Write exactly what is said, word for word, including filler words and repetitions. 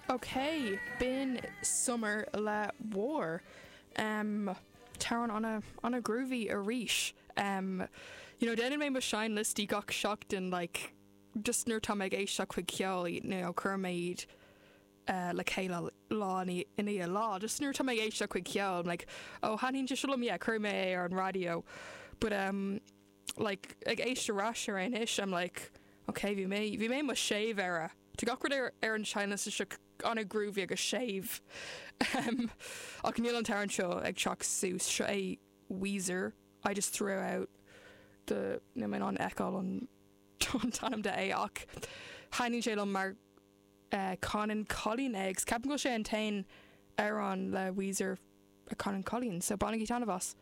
Ok, b'in Summer le War. Um, T-amhrán ana ana groovy arís. Um, you know, déanann mé mo seinnliostaí gach seachtain like, just nuair tá ag éisteacht chuig ceol you know, cuir méid uh, le chéile lá i ndiaidh lá just nuair tá ag éisteacht chuig ceol like oh thaitníonn sé liom yeah cuir mé ar an radio but um like ag éisteacht ar ais ar anois I'm like okay bhí mé bhí mé mo séimh air Tá gach rud ar ar an seinnliosta seo ana groovy agus séimh um, ach níl an t-amhrán seo ag teacht suas seo é Weezer I just threw out the níl mé an eáil an an t-ainm de é ach thaitníonn sé liom mar uh, canann cailín é ceapaim go sé an t-aon amhrán le Weezer a canann cailín so bainigí taitneamh as.